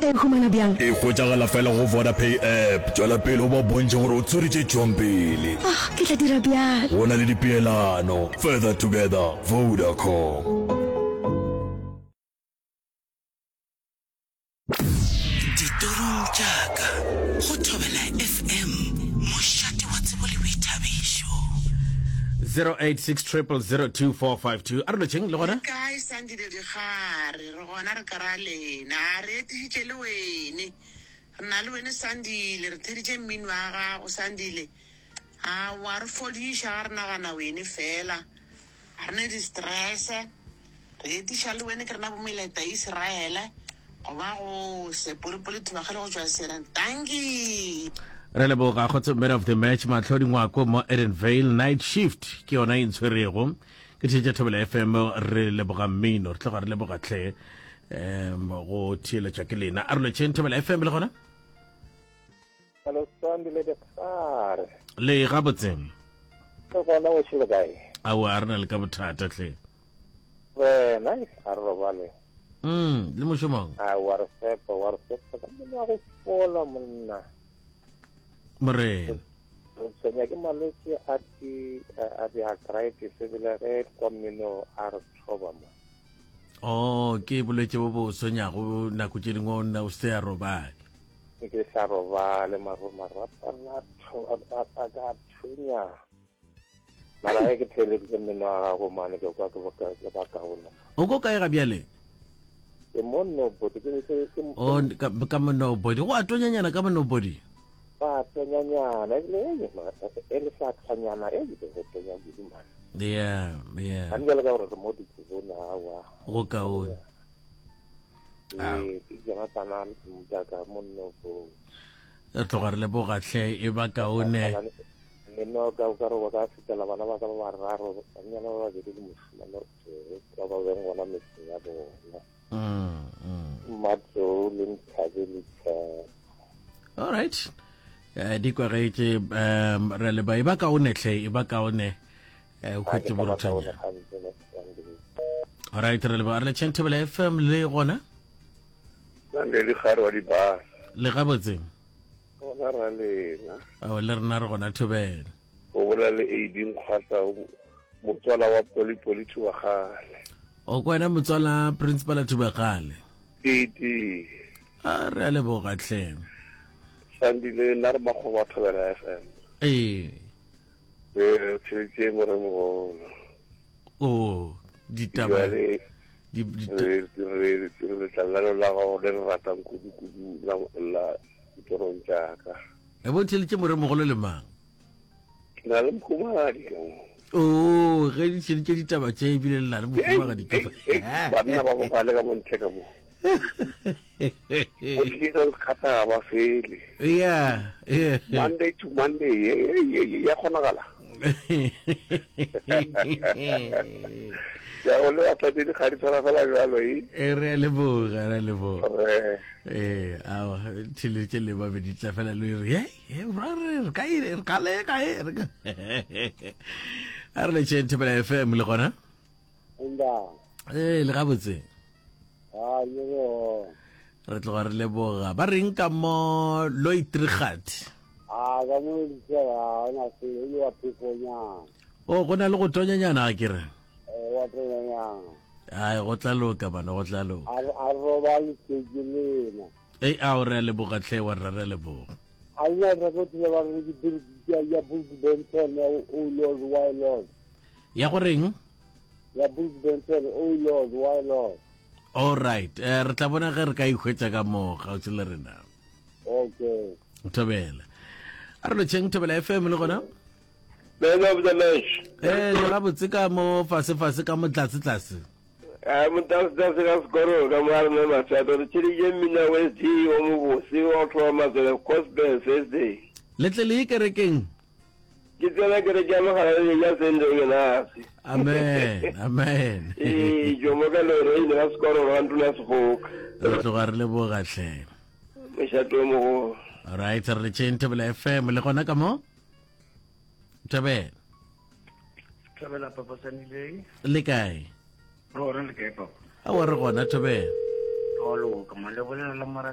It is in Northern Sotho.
Nka e humana bjang? E hwetšagala fela go Vodapay app. Tšwela pele o ba bontšhe gore o tshwere tše tšwang pele. Ah, ke tla dira bjalo. Go na le dipeelano. Further together, Vodacom. Ditorong tša ka go Thobela FM, mošate wa tsebo le boithabišo. 0860002452 a re lotšheng le gona Le kae Sandile Dikgare? Re gona re ka ra lena. A re etišitše le wene. Re na le wene Sandile, re theditše mmino wa gago Sandile. A wa re fodiša ga re nagana wene fela. Ga re ne di-stress. Re etiša le wene ke rena bo Meleta Israele goba go Sepolopolo Thubagale go tšwa Serang. Dankie. Re leboga kgotso man of the match Mahlodi Ngwako mo Edenvale night shift ke yona e ntshwerego ke theetša Thobela FM re leboga mmino re tloga re leboga tlhe um go theeletša ke lena a re lotšheng Thobela FM le gona Hello, Sandy le Dikgare. Le gabotse. Re gona o šele kae? Aowa, a re na le ka bothata hle. Wena, a re robale. Mm, le mošomong? Aowa, re fepa, wa re fepa ka monna go fola monna. Morena. Re tshwenya ke malwetse a di a di arthritis ebile ge kwa mmino a re thoba mo. Oh, ke bolwetse bo bo tshwenyago nako tše dingwe o nna o se a robale. Ke sa robale maro marapo a a ka thunya. Mara ge ke theeleditše mmino wa gago mane ke kwa ke ke ba kaone. O ko kae ga bjale? Ke mo nobody ke ke ke O ka ka mo nobody. Go a tonyanyana ka mo nobody. Ba tonyanyana ebile e le sa tlhanyana e le go tonya kudu man. Yeah, yeah. Gane jale ka gore re mo dikobong awa. Go kaone. Ee, ke Jonathan Mutaka monno ko. Re tloga re leboga hle e ba kaone. Mmino ka o ka re wa ka fetela bana ba ka ba bararo, bannyana ba babedi le mošemane o tee, ba ba beng gona metseng ya bona. Mm, mm. Mmatlou le Nthabi le Tshepo. All right. Eh, di kwagetše um re leba e ba kaone hle e ba kaone eh, o hwetše boruthanyana. Alright, re leboga re le Chantebele FM le gona. Nande le gare wa dibasa. Le gabotse. Gona ra lena. Ao le rena re gona thobela. O bolela le AD Nkgwata motswala wa Polipoli Thubagale. O kwa wena motswala principal Thubagale. AD. A re a leboga hle. Sandile nna re makgoba Thobela FM. Ee. Ee, tšhelete moremogolo. O ditaba Jwale di, di, re re re letlalo la gago le re ratang kudu kudu la la ditorong tša ka. E bo theletše moremogolo le mang? Ke na le mohumagadi ka mo. O ge di tšheletse ditaba tše ebile le na le mohumagadi ka Banna ba bogale ka mo ntle ka mo. Go tlisa sekgata ga ba fele. Yeah, yeah. Monday to Monday ya kgonagala. Ya go le batla di ga di tshwana fela jalo e. E re a leboga, re a leboga. Eh, awa, tšhelete le ba be di tla fela le re, hey, re re ka e re ka le ka e re ka. A re le tšheng Thobela FM le gona. Ee, le gabotse. Re tloga re leboga. Ba reng ka mo Loitrigat? O go na le go tonyanyana ga ke re. Ai go tla loka bana go tla loka. A robale ke lena. Ei ao re a leboga tlhe wa rra re a leboga. A lena record le ba re ke ya Bruce Benson ya Oh Lord Why Lord. Ya go reng? Ya Bruce Benson Oh Lord Why Lord. All right. Eh, re tla bona ge re ka ihwetša ka mo kgauswi le rena. Okay. Thobela. A re lotšheng Thobela FM le gona? Man of the match. Eh, le gabotse ka mo fase fase ka mo tlase tlase. A motasitase ka sekoro ka mo a rena mašato re tšheditše mmina wa SD o mobose wa go thoma matswele Gospel Thursday. Le tle le ye kerekeng? Ke tsena kereke ya Mogalaledi ya Saint Ignatius. Amen, amen. Ee, Jomo ka Lorraine ga sekoro ga ntlo ya Segoka. Re tloga re leboga hle. Mošato o mogolo. All right, re le tšeng Thobela FM le gona ka mo? Thobela. Thobela papa Sanileng. Le kae? Re gona le kae papa? Aowa re gona Thobela. Wa loka man le bolela le mora.